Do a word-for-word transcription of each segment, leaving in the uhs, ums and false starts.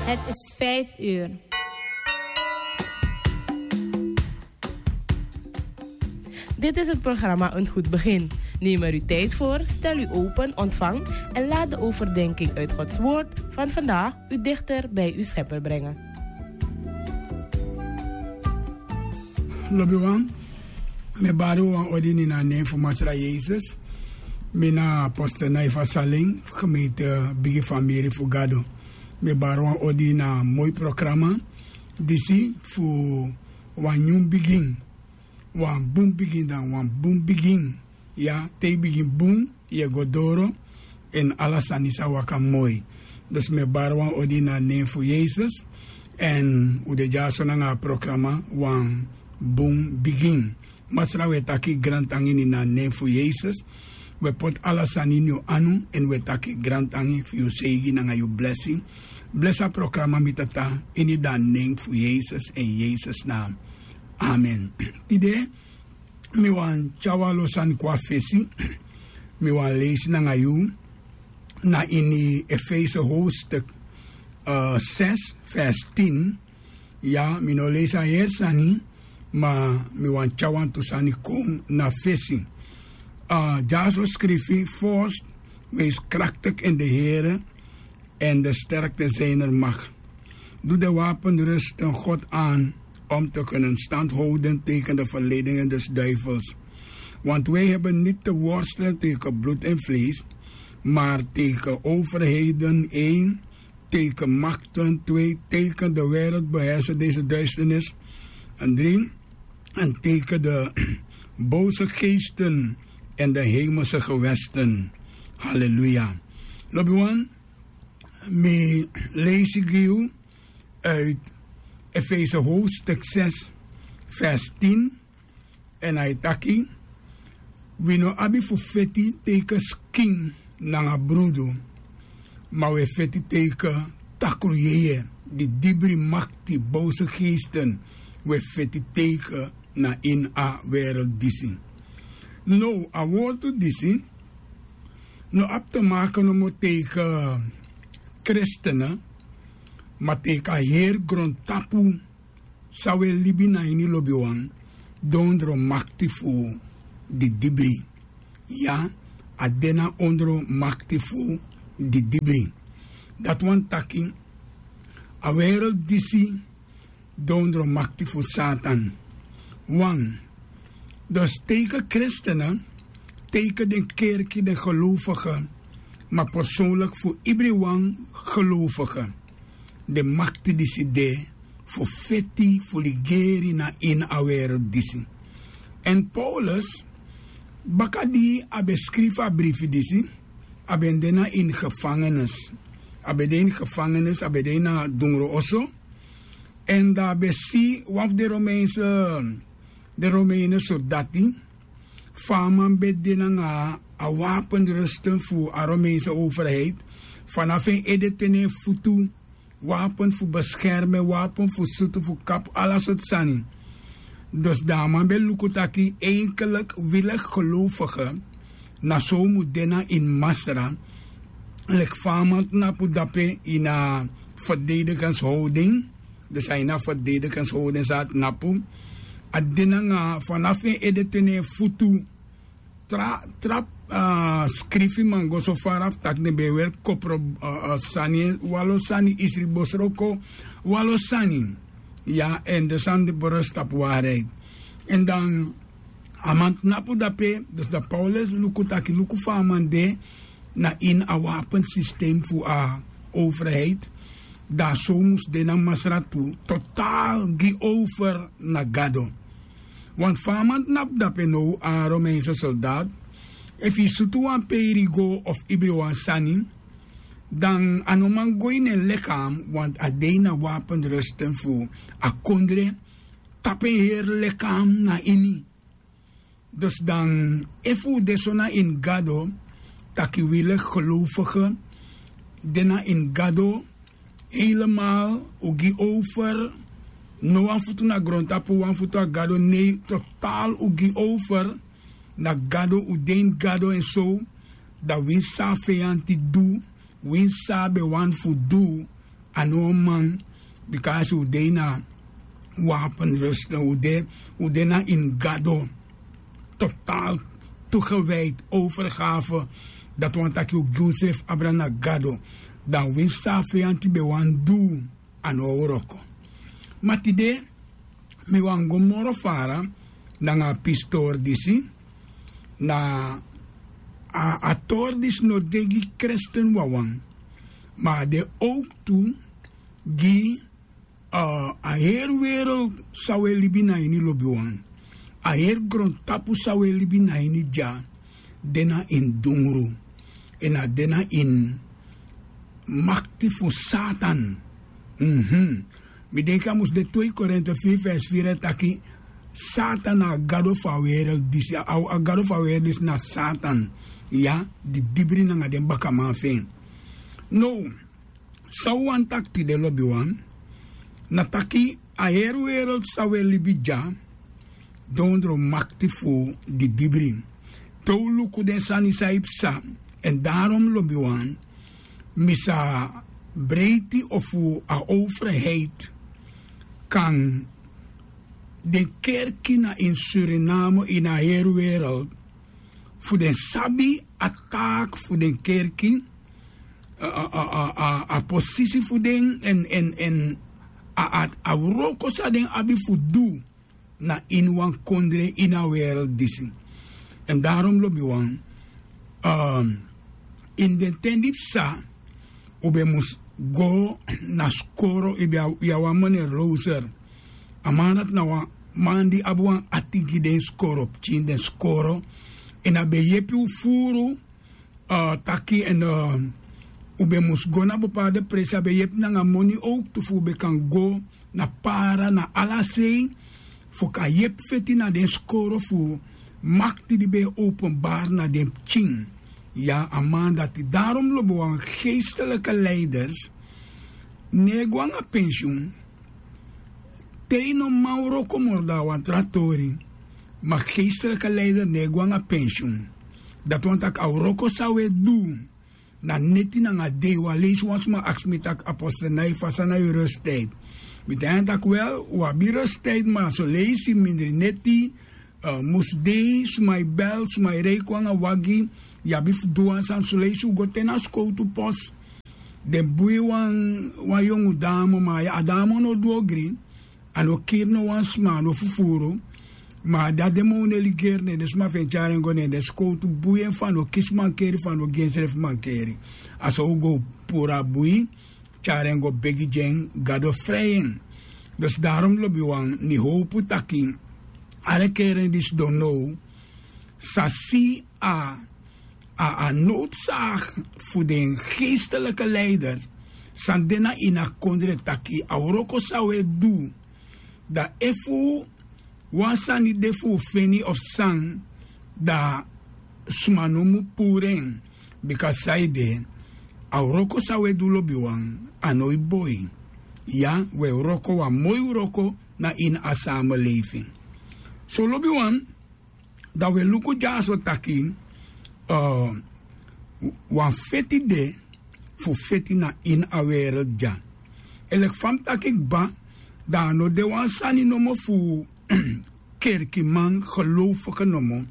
Het is vijf uur. Dit is het programma Een Goed Begin. Neem er uw tijd voor, stel u open, ontvang en laat de overdenking uit Gods Woord van vandaag u dichter bij uw Schepper brengen. Lobiwan, mi bari wan odi ini a nen fu Masra Yesus. Mi na apostel Naifa Saling, gemeente Bigi Famiri fu Gado. Mi bari wan odi na moi programa disi fu wan nyun bigin, wan bun bigin, dan wan bun bigin. Ya, te yu bigin bun, yu e go doro, èn ala sani sa waka moi. Dus mi e bari wan odi na nen fu Yesus, èn un de dyaso nanga a programa wan bun bigin. Masra, wi e taki grantangi ini a nen fu Yesus. Wi e poti ala sani ini yu anu, èn wi e taki grantangi fu yu seigi nanga yu blesi. Blesi a programa, mi Tata, ini a nen fu Yesus, èn Yesus na. Amen. Tide, mi wani tyari wan lo sani kon na fesi. Mi wani leisi nanga yu na ini Efese hoofdstuk, eh, zes, vers tien. Ya, mi no leisi a heri sani, ma mi wani tyari wantu sani kon na fesi. Eh, dyaso skrifi: Voorts, wees krachtig in de Here en de sterkte zijner macht. Doe de wapenrusting God aan om te kunnen stand houden tegen de verleidingen des duivels. Want wij hebben niet te worstelen tegen bloed en vlees, maar tegen overheden, één, tegen machten, twee, tegen de wereldbeheerser deze duisternis, en drie, en tegen de boze geesten in de hemelse gewesten. Halleluja. Lobiwan, mi leisi gi yu uit Efese hoofdstuk zes, vers tien. En a e taki: Wi no abi fu feti tegen skin nanga brudu, ma wi e feti tegen takruyeye, didibri, makti, boze geesten. Wi e feti tegen na ini a wereld disi. Now, a wortu disi no abi te maken nomo tegen christenen, ma tegen a heri grontapu san wi e libi na ini, lobiwan, dondro makti fu didibri. Ya, a de na ondro makti fu didibri. Dati wani taki a wereld disi dondro makti fu Satan. Wan, dus tegen christenen, tegen den kerki, den gelovige, ma persoonlijk fu ibriwan gelovige. Den makti disi de fu feti, fu ligeri na ini a wereld disi. En Paulus, baka di a ben skrifi a brifi disi, a ben de na ini gevangenis. A ben de ini gevangenis, a ben de ini a dungru oso. En dan a ben si wan fu den Romeinse, den Romeine sordati, fa a man ben de nanga a wapenrusten fu a Romeinse overheid, fanafu en ede te na en futu, wapen fu beskermen, wapen fu sutu, fu kapu, ala sortu sani. Dus dan a man ben luku taki, eigenlijk, welig gelovige, na so un mu de na ini Masra, leki fa a man tnapu dape ini a verdedigingshouding. Dus a ini a verdedigingshouding san a tnapu, a de nanga fanafu en ede te na en futu. Tra, tra, ah, skrifi man go so fara fu taki den ben e weri kopro, ah, ah, sani, wan lo sani, isri bosroko, wan lo sani. Ya, en den sani de berust tapu waarheid. En dan a man tnapu dape, dus dan Paulus luku taki, luku fa a man de na ini a wapensysteem fu a overheid, dan a so mus de na Masra tu, totaal gi over na Gado. Want fa a man tnapu dape now, a Romeinse soldaat, efu yu sutu wan peiringo of ibri wan sani, dan a no man go ini en lichaam, want a de ini a wapenrusten fu a kondre, tapu en heri lichaam na ini. Dus dan, efu un de so na ini Gado, taki welig gelovige, de na ini Gado, helemaal, un gi over, no wan futu na grontapu, wan futu na Gado, nee, totaal un gi over na Gado, un de ini Gado en so, dan winsi san a feyanti du, winsi san a ben wani fu du, A no man. Bika a si un de ini a wapenrusten, un de na ini gado. Total toegewijd, overgave. Dati wani taki un gi unsrefi abra na gado. Dan winsi san a feyanti ben wani du, a no o wroko. Ma tide mi wani go moro fara nanga a pisi tori disi. Na a tori disi no de gi kresten wawan, ma a de owk tu gi a heri wereld san un e libi na ini, lobiwan. A heri grontapu san un e libi na ini dya de na ini dungru, èn a de na ini makti fu Satan. Mi denki a mus de twee Korinte firi vers firi e taki Satan na a gado fu a wereld disi. A gado fu a wereld disi na Satan, ya, di dibri nanga den bakaman fu en. Now, san un wani taki tide, lobiwan, na taki a heri wereld san un e libi dya dondro makti fu di dibri. Te un luku den sani san yu psa. Èn darom, lobiwan, mi sa breiti ofu a overheid kan den kerki na ini Suriname, ini a heri wereld, fu den sabi a taak fu den kerki, a posisi fu den, èn a wroko san den abi fu du na ini wan kondre ini a wereld disi. Èn darom, lobiwan, ini den ten di psa, un ben mus go na skoro. Yu ben abi wan meneer Roser. A man dati na wan man di abi wan ati gi den skoro pikin, den skoro. Èn a ben yepi un furu taki, èn un ben mus go na bepaalde presi. A ben yepi nanga moni owk tu fu un ben kan go na para, na ala sei, fu kan yepi feti na den skoro fu makti di ben e openbari na den pikin. Ya, a man dati. Darom, lobiwan, geestelijke leiders no e go nanga pensioen. Te yu no man wroko moro, dan a wan tra tori. Ma geestelijke leider no e go nanga pensioen. Dati wani taki a wroko san un e du na neti nanga dei. Wan leisi wan sma aksi mi taki, apostel, na yu, fa san na yu rusttijd? Mi taigi en taki, wel, un abi rusttijd, ma son leisi mindri neti, musdei, sma e bel, sma e rei kon nanga wagi. Yu abi fu du wan sani. Son leisi un go te na skowtu pos, den bui wan yongu damo, ma a damo no du ogri. A no kiri no wan sma, a no fufuru. Ma a de a den man un e ligeri, ne den sma fu en tyari en go, ne den skowtu bui en fu a no kisi mankeri, fu a no gi ensrefi mankeri. A so un go puru a bui, tyari en go begi gi en, Gado frei en. Dus darom, lobiwan, mi howpu taki ala kerki di sidon now sa si a, a, a noodzaak fu den geestelijke leider san de na ini a kondre, taki a wroko san un e du, dan efu wan sani de fu un feni of san, dan sma no mu puru en. Bika saide, a wroko san un e du, lobiwan, a no e boi. Ya, un e wroko wan moi wroko na ini a samenleving. So, lobiwan, dan un e luku dyaso taki wan feti de fu feti na ini a wereld dya. Èn leki fa mi taki kba, dan a no de wan sani nomo fu kerkiman, geloofige nomo,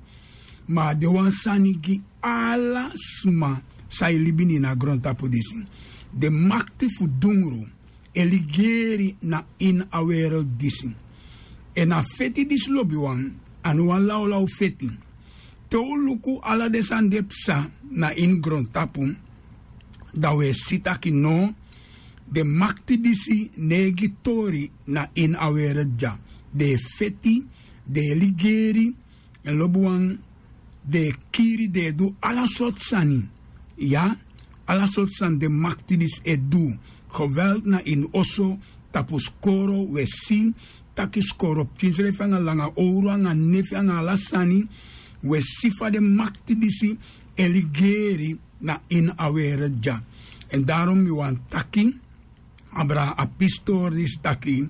ma a de wan sani gi ala sma san e libi na ini a grontapu disi. Den makti fu dungru e ligeri na ini a wereld disi. Èn a feti disi, lobiwan, a no wan lawlaw feti. Te un luku ala den sani di e psa na ini grontapu, dan un e si taki no, den makti disi no e gi tori na ini a wereld dya. Den e feti, den e ligeri, èn, lobiwan, den e kiri, den e du ala sortu sani. Ya, ala sortu sani den makti disi e du. Geweld na ini oso, tapu skoro, un e si taki skoro pikin srefi anga langa owru anga nefi anga ala sani. Un e si fa den makti disi e ligeri na ini a wereld dya. Èn darom mi wani taki abra a pisi tori disi taki,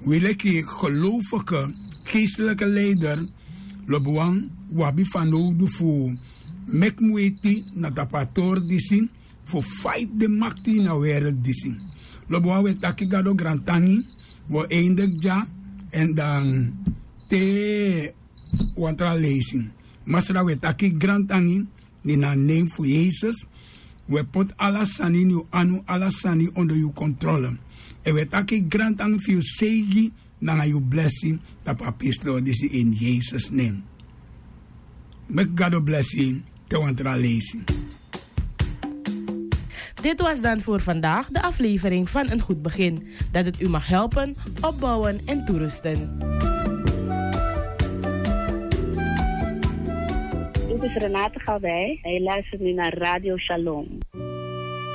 wi leki geloofige, geestelijke leider, lobiwan, un abi fanowdu fu meki muiti na tapu a tori disi, fu fight den makti ini a wereld disi. Lobi wan wi e taki gado grantangi. Wi o eindeki dya. Èn dan te wan tra leisi. Masra, wi e taki grantangi ini a nen fu yesus. Wi e poti ala sani ini yu anu, ala sani ondo yu kontrole. Èn wi e taki grantangi fu yu seigi nanga yu blesi tapu a pistol disi ini yesus nen. Meki gado blesi te wan tra leisi. Dit was dan voor vandaag de aflevering van Een Goed Begin, dat het u mag helpen, opbouwen en toerusten. Dit is Renate Gawij en je luistert nu naar Radio Shalom.